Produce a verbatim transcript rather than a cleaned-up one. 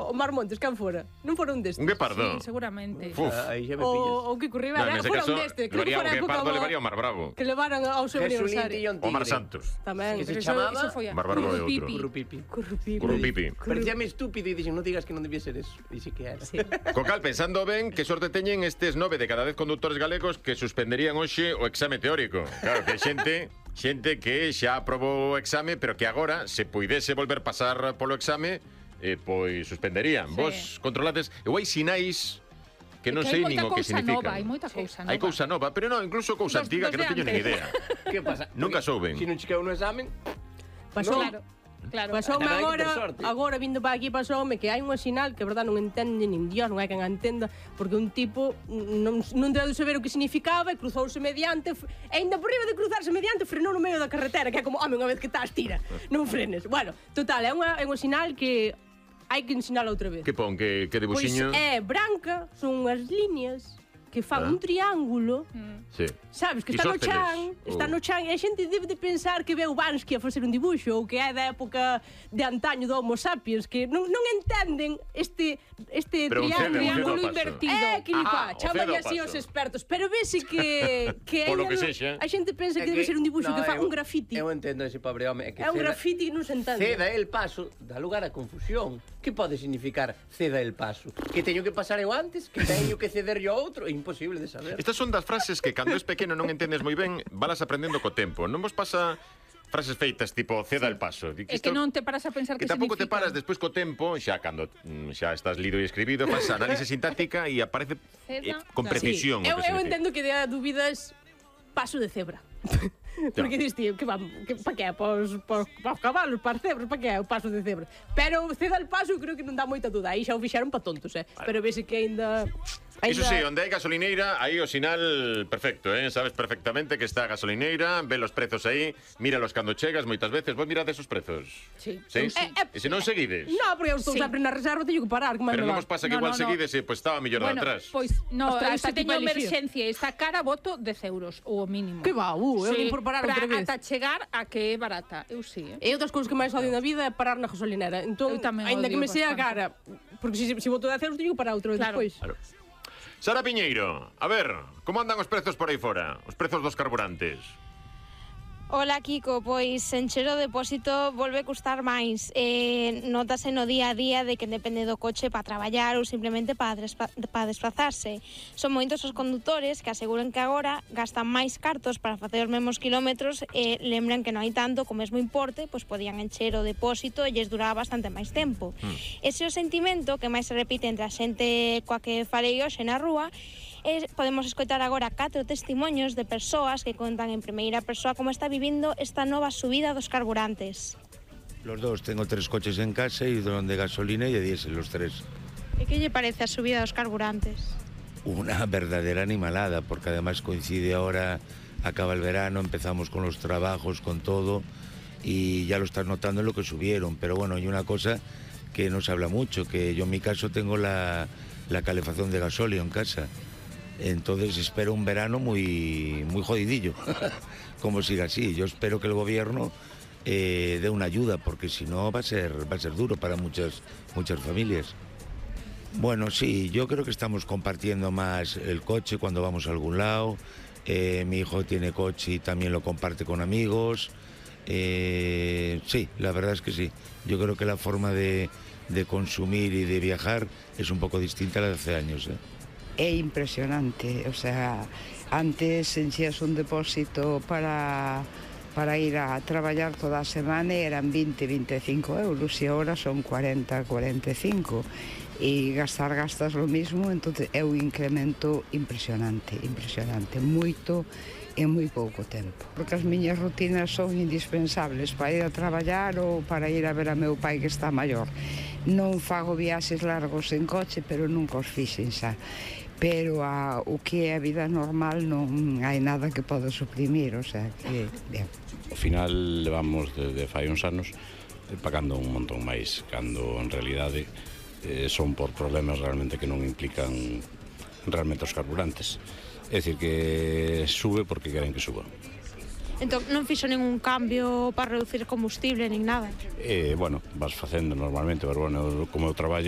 o Mar Montes, can fora? Non fora un destes? Un guepardo? Sí, seguramente. O que Curribera, fora un destes. Creo que fora época o levaría o Mar Bravo. Que levaran ao seu aniversario. O Mar Santos. Tamén. Que se chamaba Mar Bravo é outro. Currupipi. Currupipi. Parecíame estúpido e dixen, non digas que non debía ser eso. E sí que era. Co cal, pensando ben, que sorte teñen estes nove de cada dez conductores galegos que suspenderían hoxe o exame teórico. Claro, que xente... Xente que xa aprobou o exame, pero que agora, se puidese volver pasar polo exame, eh, pois suspenderían. Sí. Vos controlades... Eu hai sinais que non sei nin o que significan. Hai moita cousa nova. Hai cousa nova, pero non, incluso cousa Dos, antiga dos que non teño nin idea. Que pasa? Nunca souben. Se non checou no examen... Pasou... Claro. Claro. Pasoume agora, agora vindo para aquí pasoume que hai unha sinal que a verdad non entende nin Dios, non hai quen a entenda, porque un tipo non, non deu de saber o que significaba e cruzouse mediante, e ainda por riba de cruzarse mediante frenou no medio da carretera, que é como, home, unha vez que estás, tira, non frenes. Bueno, total, é unha, é unha sinal que hai que ensinala outra vez. Que pon, que, que debuxiño? Pois é branca, son unhas líneas que fan ah. un triángulo, mm. sí. sabes, que está no chan, oh. está no chan, e a xente debe de pensar que veu Bansky a facer un dibuixo, ou que é da época de antaño do Homo sapiens, que non, non entenden este, este pero triángulo invertido. É, que lipa, chaman así os expertos, pero vese que, que Polo que sexa. A xente pensa que, que debe ser un dibuixo no, que fa un grafiti. Eu entendo ese pobre home. É, que é un grafiti que non se entende. Ceda el paso, dá lugar a confusión. Que pode significar ceda el paso? Que teño que pasar eu antes? Que teño que ceder yo a outro? É imposible de saber. Estas son das frases que cando es pequeno non entendes moi ben, valas aprendendo co tempo. Non vos pasa frases feitas tipo ceda sí. el paso? Que é que non te paras a pensar que, que tampouco significa. te paras despois co tempo, xa cando xa estás lido e escribido, faz análise sintáctica e aparece eh, con precisión. Sí. O eu, que eu entendo que dea dúbidas paso de cebra. Porque no. Diste, que vamos, que pa que? Pos, pos, pos cabalos, para cebras, pa que é o paso de cebra? Pero ceda el paso, creo que non dá moita duda. Aí xa o fixeron pa tontos, eh? Vale. Pero vese que ainda... Ainda... Iso sí, onde hai gasolineira, aí o sinal perfecto, eh? Sabes perfectamente que está a gasolineira, ve los prezos aí, míralos cando chegas, moitas veces, vos mirades os prezos. Sí. Sí? sí. Eh, eh, e se non seguides? No, porque eu estou sí. sempre na reserva, teño que parar. Que pero non vos pasa que no, igual no, no. seguides e pois estaba mellor bueno, de atrás. Pois, no, Ostras, se teño tipo emerxencia, está cara, voto dez euros, ou o mínimo. Que va, uh, eu sí, por parar outra vez. Ata chegar a que é barata, eu sí, eh? E outras cousas que máis odio na vida é parar na gasolinera. Entón, ainda que me sea cara, porque se, se voto dez euros, teño que parar outra vez claro. Despois. Claro. Sara Piñeiro, a ver, como andan os prezos por aí fora? Os prezos dos carburantes? Ola, Kiko, pois encher o depósito volve a custar máis. Eh, notase no día a día de que depende do coche para traballar ou simplemente para para desplazarse. Son moitos os condutores que aseguran que agora gastan máis cartos para facer os mesmos kilómetros e lembran que non hai tanto co mesmo importe, pois podían encher o depósito e lles duraba bastante máis tempo. Mm. Ese é o sentimento que máis se repite entre a xente coa que falei hoxe na rúa. E podemos escoitar agora catro testemunhos de persoas que contan en primeira persoa como está vivindo esta nova subida dos carburantes. Los dos, tengo tres coches en casa y uno de gasolina y de diésel, los tres. E que lle parece a subida dos carburantes? Una verdadera animalada, porque además coincide ahora, acaba el verano, empezamos con los trabajos, con todo, y ya lo estás notando en lo que subieron. Pero bueno, hay una cosa que no se habla mucho, que yo en mi caso tengo la, la calefacción de gasóleo en casa. Entonces espero un verano muy, muy jodidillo, como siga así. Yo espero que el gobierno eh, dé una ayuda, porque si no va a ser, va a ser duro para muchas, muchas familias. Bueno, sí, yo creo que estamos compartiendo más el coche cuando vamos a algún lado. Eh, mi hijo tiene coche y también lo comparte con amigos. Eh, sí, la verdad es que sí. Yo creo que la forma de, de consumir y de viajar es un poco distinta a la de hace años, ¿eh? É impresionante, o sea, antes enxías un depósito para, para ir a traballar toda a semana e eran veinte, veinticinco euros e agora son cuarenta, cuarenta e cinco e gastar gastas lo mismo, entonces é un incremento impresionante, impresionante, moito en moi pouco tempo, porque as miñas rutinas son indispensables para ir a traballar ou para ir a ver a meu pai que está maior. Non fago viaxes largos en coche, pero nunca os fixen xa. Pero a, o que é a vida normal non hai nada que poda suprimir, o sea que, ben. Ao final levamos desde fai uns anos pagando un montón máis, cando en realidade eh, son por problemas realmente que non implican realmente os carburantes. É dicir, que sube porque queren que suba. Entón, non fixo ningún cambio para reducir combustible nin nada? Eh, bueno, vas facendo normalmente, pero bueno, como eu traballo